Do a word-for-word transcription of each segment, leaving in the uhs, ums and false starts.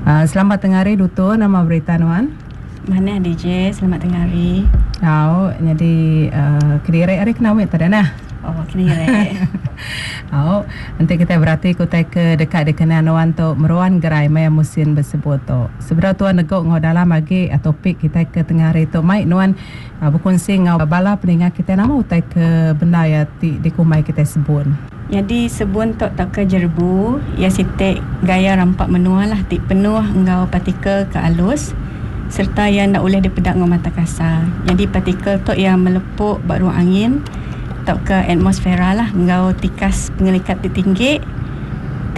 Uh, selamat tengah hari Duto, nama berita nuan? Mana D J, selamat tengah hari. Au, jadi uh, kediri hari kena wit tadi nah. Oh, kediri. Au, nanti kita berarti kutai ke dekat dikenal nuan tu meruan gerai maya musim bersebut tu. Seberapa tuan negok ngau dalam lagi topik kita ke tengah hari tu mai nuan uh, berkongsi ngau bala peningat kita nama utai ke benda ya ti dikumai kita sebun. Jadi sebun tok tau ke jerbu, ia sitik gaya rampak menua lah ti penuh ngau partikel ke alus serta yang nak boleh dipedak ngau mata kasar. Jadi partikel tok yang melepuk bak ruang angin tau ke atmosfera lah ngau tikas pengelikat ti tinggi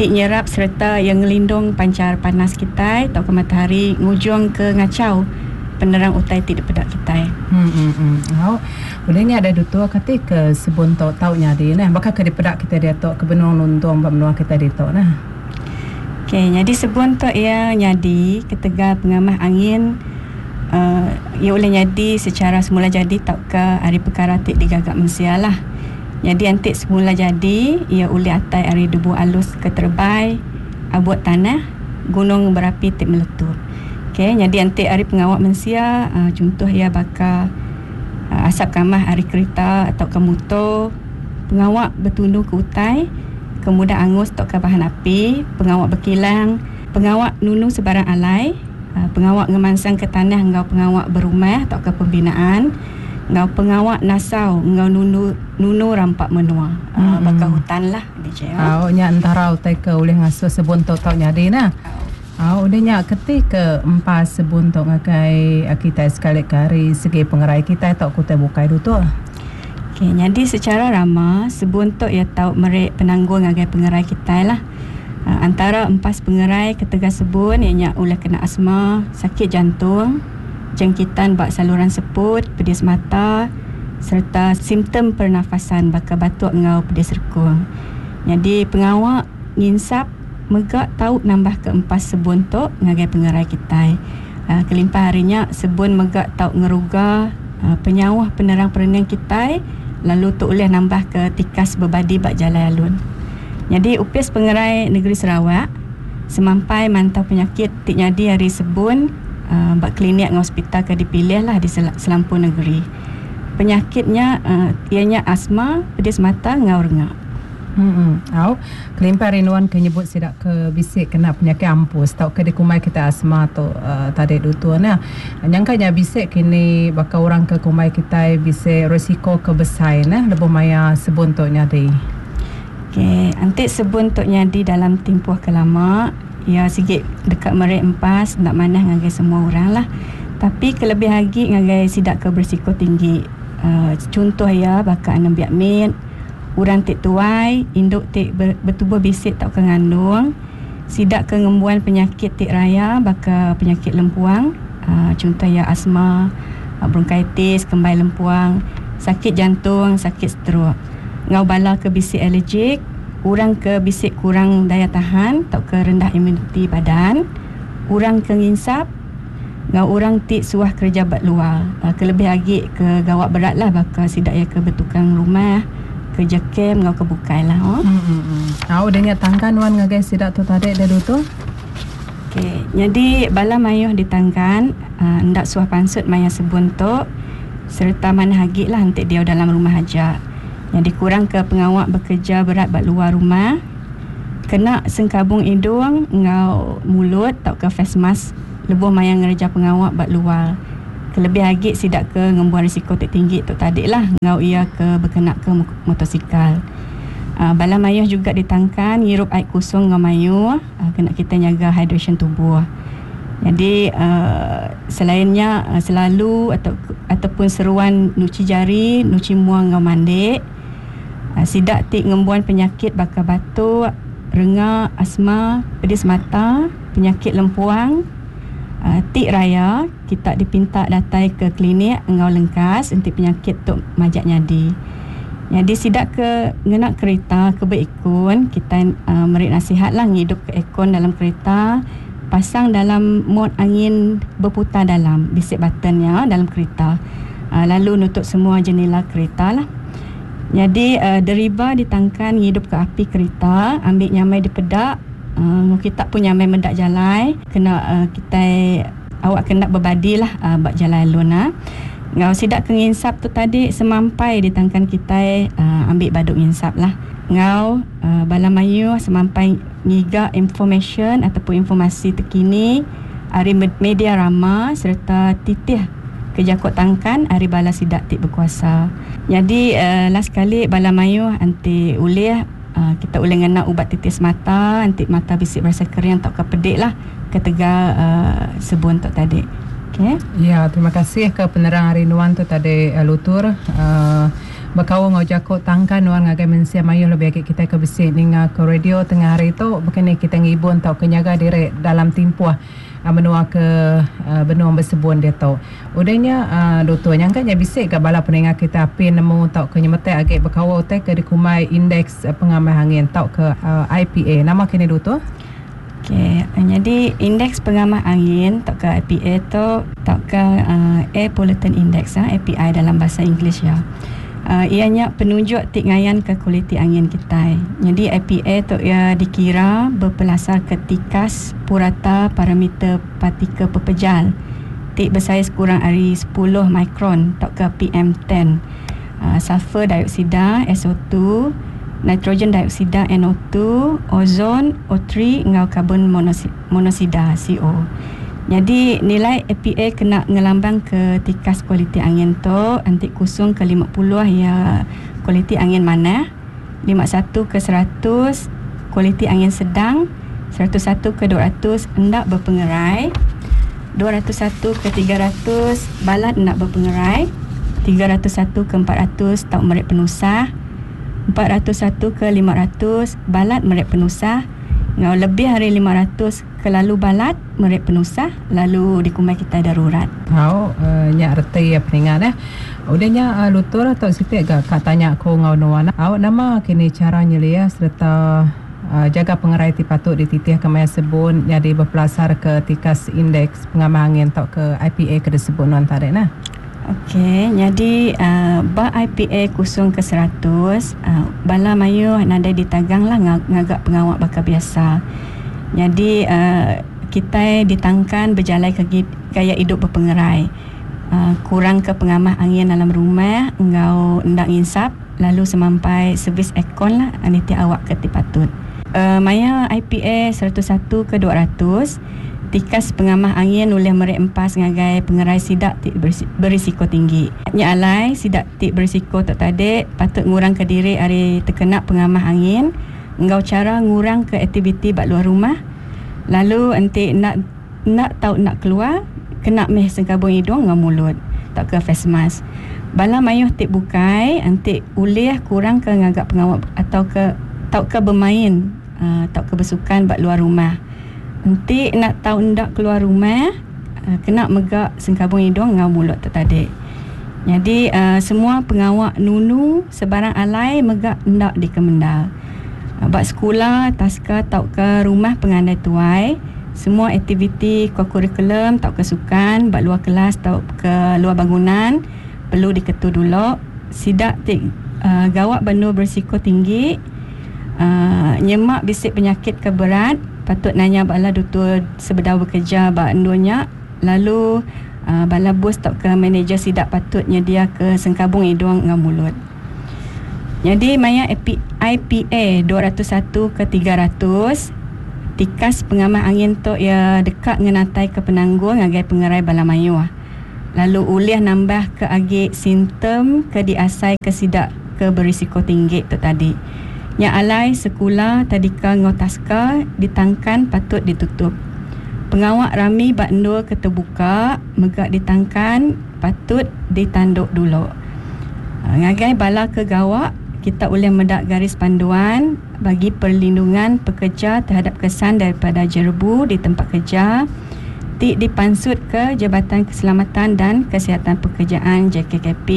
ti nyerap serta yang ngelindung pancar panas kita tau ke matahari ngujung ke ngacau penerang utai ti dipedak kita. Hmm hmm hmm. Au, boleh ada dutua kati ke sebun tok tau nyadi nah bakal ke dipedak kita dia tok ke benung nuntung ba menua kita di tok nah. Okey, jadi sebun tok ia nyadi ketegal pengamah angin uh, ia boleh nyadi secara semula jadi tau ke hari perkara ti digagak mensia lah. Jadi antik semula jadi ia boleh atai hari debu alus ke terbai abut tanah gunung berapi ti meletup. Okey, jadi antik hari pengawak mensia uh, contoh ia bakal uh, asap kamah hari kereta atau ke motor, pengawak bertundu ke utai, kemudah angus atau ke bahan api, pengawak berkilang, pengawak nunu sebarang alai, uh, pengawak ngemansang ke tanah ngau pengawak berumah atau ke pembinaan, ngau pengawak nasau ngau nunu nunu rampak menua, uh, hmm. bakal hutan lah D J. Oh, nya antara utai ke oleh ngasuh sebun tok tok nyadi nah. Oh, udah nyak ketika empat sebun tok ngakai kita sekali kari segi pengerai kita tok kutai bukai du tu. Okey, jadi secara ramah sebun tok ia tau merek penanggung ngagai pengerai kita lah. Uh, antara empat pengerai ketegas sebun ia nyak ulah kena asma, sakit jantung, jangkitan bak saluran seput, pedis mata serta simptom pernafasan bakal batuk ngau pedis rekung. Jadi pengawak nginsap megak tau nambah ke empat sebun tok ngagai pengerai kita. Uh, kelimpah harinya sebun megak tau ngeruga uh, penyawah penerang perenang kita lalu tok boleh nambah ke tikas berbadi bak jalan alun. Jadi upis pengerai negeri Sarawak semampai mantau penyakit tik nyadi hari sebun uh, bak klinik dengan hospital ke dipilih lah di sel- selampur negeri. Penyakitnya uh, ianya asma, pedis mata ngau rengak. Hmm. Au, kelimpah rinuan ke nyebut sidak ke bisik kena penyakit ampus tau ke dikumai kita asma tu uh, tadi dutua nah. Nyangkanya bisik kini bakal orang ke kumai kita bisik risiko ke besar nah lebuh maya sebun tok nyadi. Okey, antik sebun tok nyadi dalam tempoh kelama ya sikit dekat merek empas nak manah ngagai semua orang lah. Tapi kelebih lagi ngagai sidak ke berisiko tinggi. Uh, contoh ya bakal anak biak mit, urang tik tuai, induk tik ber, bertubuh bisik tak ke ngandung, sidak ke ngembuan penyakit tik raya bakal penyakit lempuang, uh, contoh ya asma, uh, bronkitis, kembai lempuang, sakit jantung, sakit stroke. Ngau bala ke bisik alergik, urang ke bisik kurang daya tahan atau ke rendah imuniti badan, urang ke nginsap, ngau urang tik suah kerja bat luar, uh, kelebih lagi ke gawak berat lah bakal sidak ya ke bertukang rumah, kerja kem ngau ke bukai lah. Oh. Hmm, hmm, hmm. Au dengan tangkan wan ngagai sidak tu tadi dah tu. Okey, jadi bala mayuh ditangkan uh, ndak suah pansut maya sebun tok serta mana hagi lah entik dia dalam rumah aja. Jadi kurang ke pengawak bekerja berat bat luar rumah. Kena sengkabung hidung ngau mulut atau ke face mask lebuh maya ngerja pengawak bat luar. Kelebih lagi sidak ke ngembuan risiko tik tinggi tok tadi lah ngau ia ke berkenak ke motosikal. Uh, bala mayuh juga ditangkan ngirup air kosong ngau mayuh, uh, kena kita jaga hydration tubuh. Jadi uh, selainnya uh, selalu atau ataupun seruan nuci jari, nuci muang ngau mandik. Uh, sidak tik ngembuan penyakit bakal batuk, rengak, asma, pedis mata, penyakit lempuang. Uh, tik raya kita dipinta datai ke klinik engau lengkas untuk penyakit tok majak nyadi. Jadi sidak ke ngenak kereta ke berikun kita uh, merik nasihat lah ngidup ke aircon dalam kereta, pasang dalam mod angin berputar dalam bisik buttonnya dalam kereta. Uh, lalu nutup semua jendela kereta lah. Jadi uh, deriba ditangkan ngidup ke api kereta, ambil nyamai di pedak, Uh, kita punya main mendak jalai kena uh, kita awak kena berbadi lah uh, bak jalai luna. Ngau sidak ke nginsap tu tadi semampai ditangkan kita uh, ambil baduk nginsap lah. Ngau uh, bala mayu semampai ngiga information ataupun informasi terkini ari media rama serta titih kejakot tangkan ari bala sidak tik berkuasa. Jadi uh, last kali bala mayu anti ulih uh, kita ulih ngena ubat titis mata anti mata bisik berasa kering atau kepedik lah ketegal uh, sebun tok tadi. Okay. Ya, terima kasih ke penerang hari nuan tu tadi uh, lutur. Uh, Bekau ngau jakot tangkan nuan ngagai mensia mayu lebih agak kita ke besi ninga ke radio tengah hari tu bukan ni kita ngibun tau kenyaga diri dalam timpuah uh, menua ke uh, benua bersebun dia tu. Udahnya uh, lutur nyangka nya bisik ke bala pendengar kita api nemu tau ke nyemetek agak bekau te ke dikumai indeks uh, pengamah angin tau ke uh, I P A. Nama kini lutur? Okey, jadi indeks pengamah angin tau ke I P A tu tau ke uh, Air Pollutant Index ha, A P I dalam bahasa Inggeris ya. Uh, ianya penunjuk tik ngayan ke kualiti angin kita. Jadi I P A tu ia dikira berpelasar ke tikas purata parameter partikel pepejal tik bersaiz kurang dari sepuluh mikron atau ke P M ten. Uh, sulfur dioksida S O two, nitrogen dioksida N O two, ozon O three ngau karbon monoksida C O. Jadi nilai A P A kena ngelambang ke tikas kualiti angin tu antik kosong ke lima puluh ya kualiti angin mana, lima puluh satu ke seratus kualiti angin sedang, seratus satu ke dua ratus hendak berpengerai, dua ratus satu ke tiga ratus balat hendak berpengerai, tiga ratus satu ke empat ratus tak merik penusah, empat ratus satu ke lima ratus balat merik penusah, ngau lebih hari lima ratus ke lalu balat merik penusah lalu dikumai kita darurat. Tau uh, nyak reti ya peningan eh. Udahnya uh, lutur atau sitik gak kak tanya ko ngau nuan. Awak nama kini cara nyelia serta uh, jaga pengerai ti patut dititih ke maya sebun jadi berpelasar ke tikas indeks pengamah angin atau ke I P A ke disebut nuan tadi nah. Okey, jadi uh, ba I P A kosong ke seratus, uh, bala mayu nadai ditagang lah ngagak pengawak bakal biasa. Jadi uh, kita ditangkan berjalan ke gaya hidup berpengerai. Uh, kurang ke pengamah angin dalam rumah, engau ndak nginsap, lalu semampai servis aircon lah nanti awak ke patut. Uh, maya I P A seratus satu ke dua ratus, tikas pengamah angin oleh merik empas ngagai pengerai sidak tik berisiko tinggi. Nya alai sidak tik berisiko tak tadi patut ngurang ke diri ari terkena pengamah angin ngau cara ngurang ke aktiviti bak luar rumah. Lalu enti nak nak tahu nak keluar kena meh sengkabung hidung ngau mulut tak ke face mask. Bala mayuh tik bukai enti ulih kurang ke ngagak pengawak atau ke tau ke bermain uh, tau ke bersukan bak luar rumah. Nanti nak tahu ndak keluar rumah uh, kena megak sengkabung hidung ngau mulut tak tadi. Jadi uh, semua pengawak nunu sebarang alai megak ndak dikemendal. Uh, bak sekolah, taska tau ke rumah pengandai tuai, semua aktiviti kokurikulum tau ke sukan bak luar kelas tau ke luar bangunan perlu diketu dulu. Sidak tik uh, gawak benda berisiko tinggi, uh, nyemak bisik penyakit ke berat patut nanya bala doktor sebedau bekerja bak endonya, lalu uh, bala bos tak ke manager sidak patutnya dia ke sengkabung hidung dengan mulut. Jadi maya I P A dua ratus satu ke tiga ratus tikas pengamah angin tu ia dekat ngenatai ke penanggung ngagai pengerai bala mayu. Lalu ulih nambah ke agi simptom ke diasai ke sidak ke berisiko tinggi tu tadi. Yang alai sekolah tadika ngau taska ditangkan patut ditutup. Pengawak rami bak endua ke terbuka megak ditangkan patut ditanduk dulu. Ngagai bala ke gawak kita boleh medak garis panduan bagi perlindungan pekerja terhadap kesan daripada jerebu di tempat kerja tik dipansut ke Jabatan Keselamatan dan Kesihatan Pekerjaan J K K P.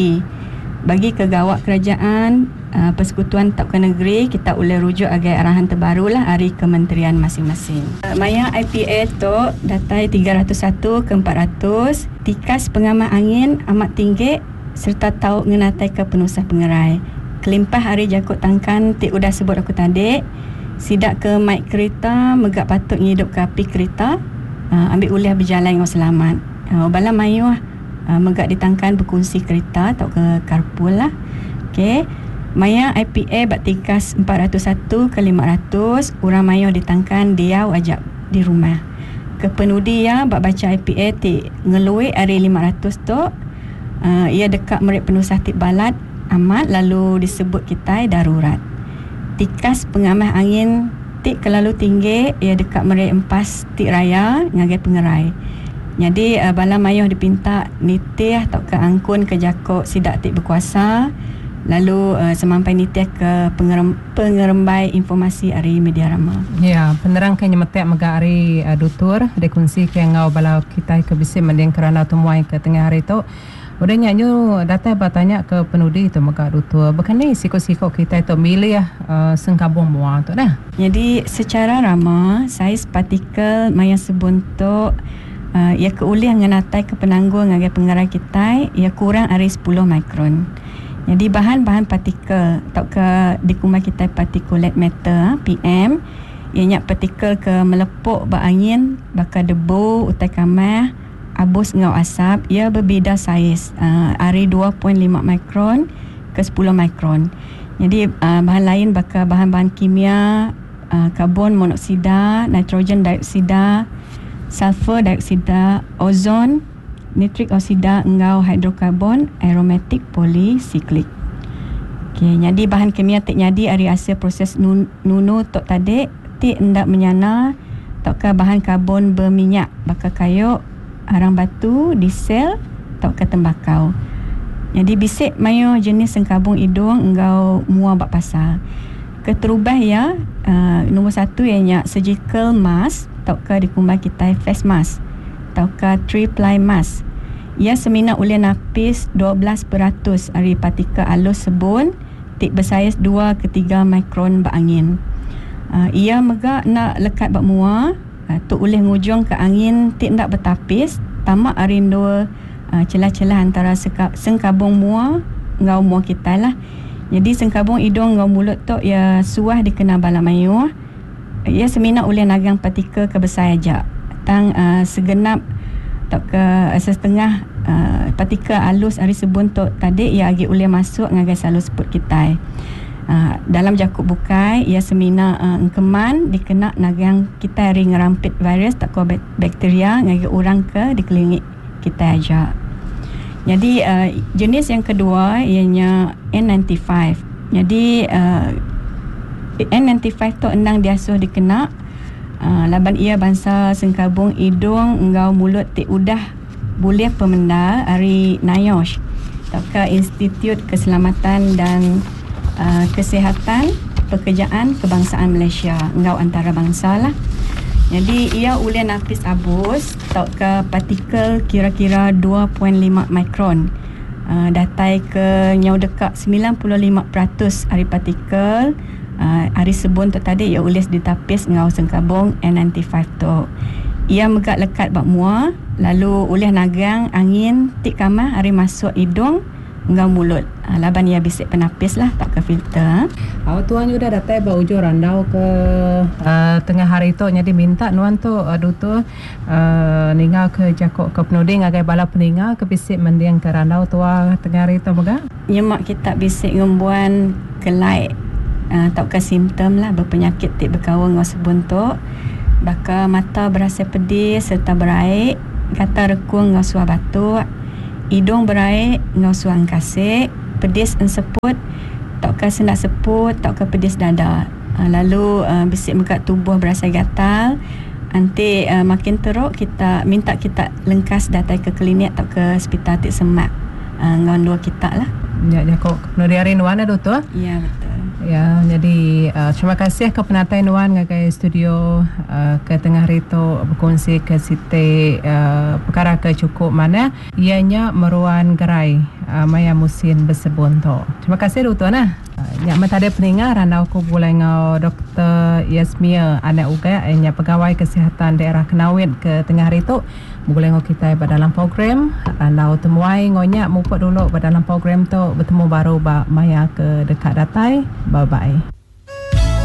Bagi kegawak kerajaan uh, persekutuan tauka negeri kita boleh rujuk agai arahan terbaru lah hari kementerian masing-masing. Uh, maya I P A tu datai tiga ratus satu ke empat ratus tikas pengamah angin amat tinggi serta tau ngenatai ke penusah pengerai. Kelimpah hari jakut tangkan tik udah sebut aku tadi Sidak ke mai kereta megak patut ngidup ke api kereta uh, ambil ulih berjalan dengan selamat. Uh, bala mayuh uh, megak ditangkan berkongsi kereta atau ke carpool lah. Okey. Maya I P A bak tikas empat ratus satu ke lima ratus, orang mayuh ditangkan diau ajak di rumah. Kepenudi ya bak baca I P A ti ngeluik hari lima ratus tu, uh, ia dekat merik penusah ti balat amat lalu disebut kita darurat. Tikas pengamah angin ti kelalu tinggi ia dekat merik empas ti raya ngagai pengerai. Jadi uh, bala mayuh dipinta nitih atau ke angkun ke jakok sidak ti berkuasa lalu uh, semampai nitih ke pengerem, pengerembai informasi ari media rama. Ya, penerang ke nyemetek mega ari uh, dutur dikunsi ke ngau bala kita ke bisi mending kerana temuai ke tengah hari tu. Udah nyanyu datai bertanya ke penudi tu mega dutur. Bukan ni siko-siko kita tu milih uh, sengkabung mua tu dah. Jadi secara rama saiz partikel maya sebuntuk uh, ia keulih ngenatai ke penanggung ngagai pengerai kita ia kurang ari sepuluh mikron. Jadi bahan-bahan partikel atau ke dikumai kita particulate matter P M ianya partikel ke melepuk berangin bakal debu utai kamah abus ngau asap ia berbeza saiz uh, ari dua perpuluhan lima mikron ke sepuluh mikron. Jadi uh, bahan lain bakal bahan-bahan kimia uh, karbon monoksida, nitrogen dioksida, sulfur dioksida, ozon, nitrik oksida engau hidrokarbon aromatik polisiklik. Okey, jadi bahan kimia tik nyadi ari hasil proses nun, nunu tok tadi tik ndak menyana tok ke bahan karbon berminyak bakal kayu, arang batu, diesel tok ke tembakau. Jadi bisik mayo jenis sengkabung hidung engau mua bak pasar. Keterubah ya, uh, nombor satu ianya surgical mask tok ke dikumbai kita face mask atau ke three ply mask. Ia semina oleh napis dua belas peratus ari partikel alus sebun tik bersaiz dua ke tiga mikron berangin. Uh, ia megak nak lekat bak mua, uh, tu oleh ngujung ke angin tik nak bertapis tamak ari dua, uh, celah-celah antara seka-, sengkabung mua ngau mua kita lah. Jadi sengkabung hidung ngau mulut tu ia suah dikena bala mayuh. Ia semina oleh nagang partikel ke besar aja. Tang uh, segenap atau ke uh, setengah uh, partikel alus ari sebun tu tadi ia agi boleh masuk ngagai salur seput kita. Uh, dalam jakuk bukai ia semina uh, engkeman dikena nagang kita ari ngerampit virus tak ko bakteria ngagai orang ke dikelilingi kita aja. Jadi uh, jenis yang kedua ianya N sembilan puluh lima. Jadi uh, N sembilan puluh lima tu endang diasuh dikena Uh, laban ia bangsa sengkabung hidung engau mulut tik udah boleh pemenda ari NIOSH atau ke Institut Keselamatan dan uh, Kesihatan Pekerjaan Kebangsaan Malaysia engau antarabangsa lah. Jadi ia ulih napis abus atau ke partikel kira-kira dua perpuluhan lima mikron. Uh, datai ke nyau dekat sembilan puluh lima peratus ari partikel Uh, hari sebun tu tadi ia ulis ditapis ngau sengkabung N sembilan puluh lima tu. Ia megak lekat bak mua lalu ulih nagang angin tik kamah hari masuk hidung ngau mulut. Uh, laban ia bisik penapis lah tak ke filter. Awak tuan udah datai ba ujung randau ke uh, tengah hari tu jadi minta nuan tu uh, dutu uh, ningal ke jakok ke penuding ngagai bala peningal ke bisik mendiang ke randau tua tengah hari tu mega. Nyemak kita bisik ngembuan kelai Uh, tauka simptom lah berpenyakit tik berkawan dengan sebun tu bakal mata berasa pedih serta beraik, kata rekung dengan suah batuk, hidung beraik dengan suah angkasik, pedis enseput, tauka senak seput, tauka pedis dada. Uh, lalu uh, bisik mekat tubuh berasa gatal. Nanti uh, makin teruk kita minta kita lengkas datang ke klinik atau ke hospital tik semak uh, dengan dua kita lah. Ya, ya kok. Nuri hari nuan ada tu? Ya, betul. Ya, jadi uh, terima kasih ke penatai nuan ngagai studio uh, ke tengah hari tu berkongsi ke siti uh, perkara ke cukup mana ianya meruan gerai uh, maya musim bersebun tu. Terima kasih tu tuan ah. Uh, nyak mentade peninga randau ku bulai ngau Doktor Yasmia anak uga ianya pegawai kesihatan daerah Kenawit ke tengah hari tu. Boleh ngau kita dalam program randau temuai ngonya mupuk dulu dalam program tu bertemu baru ba maya ke dekat datai. Bye bye.